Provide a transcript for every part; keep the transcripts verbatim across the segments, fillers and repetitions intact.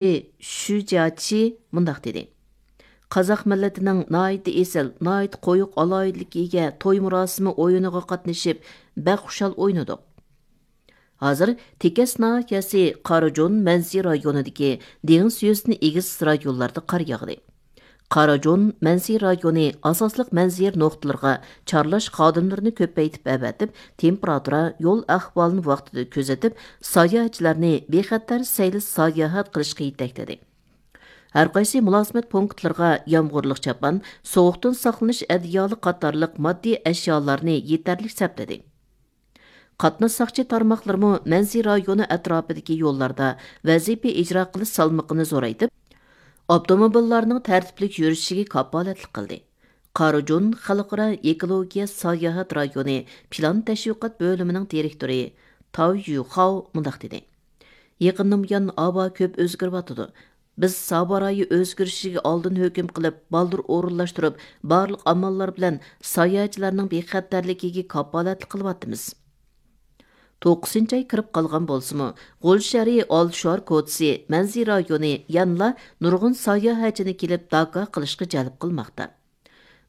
شۈجياچى مۇنداق دېدى: قازاق مىللىتىنىڭ ناھايىتى ئېسىل، ناھايىتى قويۇق ئالاھىدىلىككە ئىگە توي مۇراسىمى ئويۇنىغا قاتنىشىپ، بەك خۇشال ئوينىدۇق. ھازىر تېكەس ناھىيەسى قاراجون مەنزى رايونىدىكى دېڭىز يۈزىدىن ئېگىز رايونلاردا قار ياغدى. قاراجون مەنزى رايونى ئاساسلىق مەنزىرە نۇقتىلىرىغا چارلاش خادىملىرىنى كۆپەيتىپ ئەۋەتىپ، تېمپېراتۇرا، يول ئەھۋالىنى ۋاقتىدا كۆزىتىپ، ساياھەتچىلەرنى بىخەتەر سەيلە ساياھەت قىلىشقا يېتەكلىدى. ھەرقايسى مۇلازىمەت پونكىتلىرىغا يامغۇرلۇق چاپان، سوغۇقتىن ساقلىنىش ئەدىيالى قاتارلىق ماددىي ئەشيالارنى يېتەرلىك سەپلىدى. قاتناش ساقچى تارماقلىرىمۇ مەنزى رايونى ئەتراپىدىكى يوللاردا ۋەزىپە ئىجرا قىلىش سالمىقىنى زورايتىپ، ئاپتوموبىللارنىڭ تەرتىپلىك يۈرۈشىگە كاپالەتلىك قىلدى. قارىجۇن خەلقئارا ئېكولوگىيە ساياھەت رايونى پىلان تەشۋىقات بۆلۈمىنىڭ دىرېكتورى تاۋ يۈخاۋ مۇنداق دېدى: يېقىندىن بۇيان ھاۋا كۆپ ئۆزگىرىۋاتىدۇ. بىز ھاۋا رايى ئۆزگىرىشىگە ئالدىن ھۆكۈم قىلىپ، بالدۇر ئورۇنلاشتۇرۇپ، بارلىق ئاماللار بىلەن ساياھەتچىلەرنىڭ بىخەتەرلىكىگە كاپالەتلىك قىلىۋاتىمىز. توققۇزىنچى ئاي كىرىپ قالغان بولسىمۇ، غۇلجا شەھىرى ئالتە شوئار كوچىسى مەنزىرە رايونى يەنىلا نۇرغۇن ساياھەتچىنى كېلىپ داكا قىلىشقا جەلپ قىلماقتا.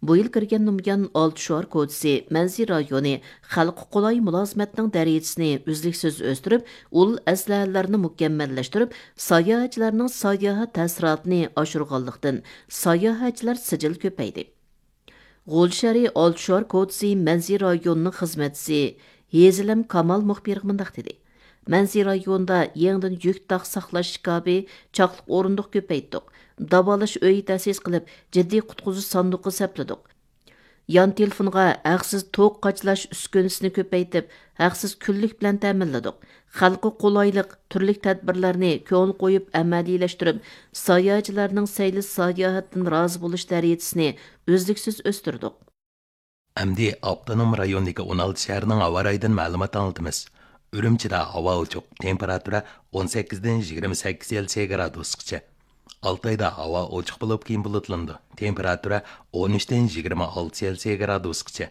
بۇ يىل كىرگەندىن بۇيان، ئالتە شوئار كوچىسى مەنزىرە رايونى خەلققە قولاي مۇلازىمەتنىڭ دەرىجىسىنى ئۈزلۈكسىز ئۆستۈرۈپ، ئۇل ئەسلىھەلەرنى مۇكەممەللەشتۈرۈپ، ساياھەتچىلەرنىڭ ساياھەت تەسىراتىنى ئاشۇرغانلىقتىن، ساياھەتچىلەر سىجىل كۆپەيدى. غۇلجا شەھىرى ئالتە شوئار كوچىسى مەنزىرە رايونىنىڭ خىزمەتچىسى ھېزىلەم كامال مۇخبىرغا مۇنداق دېدى: مەنزىرە رايونىدا يېڭىدىن يۈك تاق ساقلاش ئىكابى، چاقلىق ئورۇندۇق كۆپەيتتۇق. داۋالاش ئۆيى تەسىس قىلىپ، جىددىي قۇتقۇزۇش ساندۇقى سەپلىدۇق. يان تېلېفونغا ھەقسىز توك قاچىلاش ئۈسكۈنىسىنى كۆپەيتىپ، ھەقسىز كۈنلۈك بىلەن تەمىنلىدۇق. خەلققە قولايلىق تۈرلۈك تەدبىرلەرنى كۆڭۈل قويۇپ ئەمەلىيلەشتۈرۈپ، ساياھەتچىلەرنىڭ سەيلە ساياھەتتىن رازى بولۇش دەرىجىسىنى ئۈزلۈكسىز ئۆستۈردۇق. ئەمدى ئاپتونوم رايوندىكى ئون ئالتە شەھەرنىڭ ھاۋا رايىدىن مەلۇمات ئاڭلىتىمىز. ئۈرۈمچىدە ھاۋا ئوچۇق، تېمپېراتۇرا ئون سەككىزدىن يىگىرمە سەككىز سېلسىيە گرادۇسقىچە. ئالتايدا ھاۋا ئوچۇق بولۇپ، كېيىن بۇلۇتلىنىدۇ، تېمپېراتۇرا ئون ئۈچتىن يىگىرمە ئالتە سېلسىيە گرادۇسقىچە.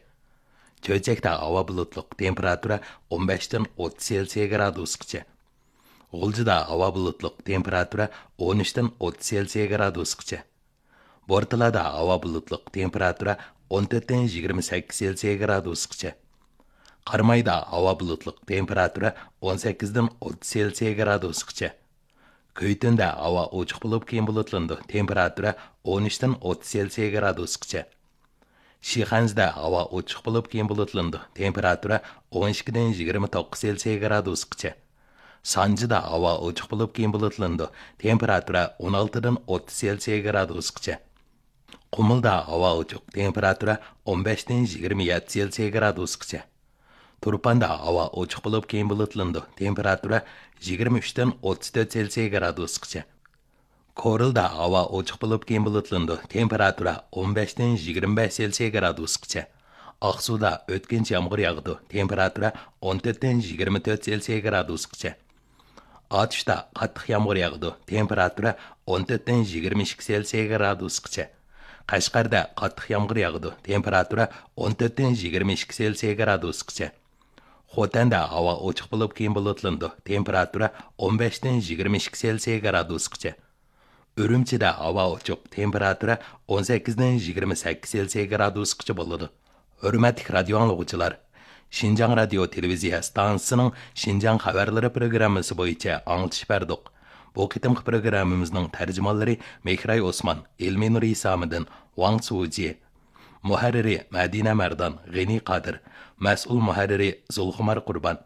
چۆچەكتە ھاۋا بۇلۇتلۇق، تېمپېراتۇرا ئون بەشتىن ئوتتۇز سېلسىيە گرادۇسقىچە. غۇلجىدا ھاۋا بۇلۇتلۇق، تېمپېراتۇرا ئون ئۈچتىن ئوتتۇز سېلسىيە گرادۇسقىچە. بورتالادا ھاۋا بۇلۇتلۇق، تېمپېراتۇرا ئون تۆتتىن يىگىرمە سەككىز سېلسىيە گرادۇسقىچە. قارامايدا ھاۋا بۇلۇتلۇق، تېمپېراتۇرا ئون سەككىزدىن ئوتتۇز سېلسىيە گرادۇسقىچە. كۈيتۈندە ھاۋا ئوچۇق بولۇپ، كېيىن بۇلۇتلىنىدۇ، تېمپېراتۇرا ئون ئۈچتىن ئوتتۇز سېلسىيە گرادۇسقىچە. شىخەنزىدە ھاۋا ئوچۇق بولۇپ، كېيىن بۇلۇتلىنىدۇ، تېمپېراتۇرا ئون ئىككىدىن يىگىرمە توققۇز سېلسىيە گرادۇسقىچە. سانجىدا ھاۋا ئوچۇق بولۇپ، كېيىن بۇلۇتلىنىدۇ، تېمپېراتۇرا ئون ئالتىدىن ئوتتۇز سېلسىيە گرادۇسقىچە. قۇمۇلدا ھاۋا ئوچۇق، تېمپېراتۇرا ئون بەشتىن يىگىرمە يەتتە سېلسىيە گرادۇسقىچە. تۇرپاندا ھاۋا ئوچۇق بولۇپ، كېيىن بۇلۇتلىنىدۇ، تېمپېراتۇرا يىگىرمە ئۈچتىن ئوتتۇز تۆت سېلسىيە گرادۇسقىچە. كورلىدا ھاۋا ئوچۇق بولۇپ، كېيىن بۇلۇتلىنىدۇ، تېمپېراتۇرا ئون بەشتىن يىگىرمە بەش سېلسىيە گرادۇسقىچە. ئاقسۇدا ئۆتكۈنچى يامغۇر ياغىدۇ، تېمپېراتۇرا ئون تۆتتىن يىگىرمە تۆت سېلسىيە گرادۇسقىچە. ئاتۇشتا قاتتىق يامغۇر ياغىدۇ، تېمپېراتۇرا ئون تۆتتىن يىگىرمە ئىككى سېلسىيە گرادۇسقىچە. قەشقەردە قاتتىق يامغۇر ياغىدۇ، تېمپېراتۇرا ئون تۆتتىن يىگىرمە ئىككى سېلسىيە گرادۇسقىچە. خوتەندە ھاۋا ئوچۇق بولۇپ، كېيىن بۇلۇتلىنىدۇ، تېمپېراتۇرا ئون بەشتىن يىگىرمە ئىككى سېلسىيە گرادۇسقىچە. ئۈرۈمچىدە ھاۋا ئوچۇق، تېمپېراتۇرا ئون سەككىزدىن يىگىرمە سەككىز سېلسىيە گرادۇسقىچە بولىدۇ. ھۆرمەتلىك رادىيو ئاڭلىغۇچىلار، شىنجاڭ رادىيو تېلېۋىزىيە ئىستانسىسىنىڭ شىنجاڭ خەۋەرلىرى پروگراممىسى بويىچە ئاڭلىتىش بەردۇق. بۇ قېتىمقى پروگراممىمىزنىڭ تەرجىمانلىرى مېھراي ئوسمان، ئىلمىنۇر ھېسامىدىن، ۋاڭ سۇجى. مۇھەررىرى مەدىنە مەردان، غېنى قادىر. مەسئۇل مۇھەررىرى زۇلخۇمار قۇربان.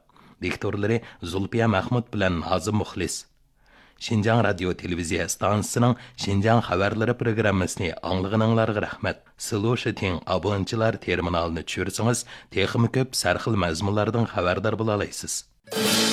دىكتورلىرى زۇلپىيە مەخمۇت بىلەن نازىم مۇخلىس. شىنجاڭ رادىيو تېلېۋىزىيە ئىستانسىسىنىڭ شىنجاڭ خەۋەرلىرى پروگراممىسىنى ئاڭلىغىنىڭلارغا رەھمەت. سىلۇشىتىڭ ئابونېنتچىلار تېرمىنالىنى چۈشۈرسىڭىز، تېخىمۇ كۆپ سەرخىل مەزمۇنلاردىن خەۋەردار بولالايسىز.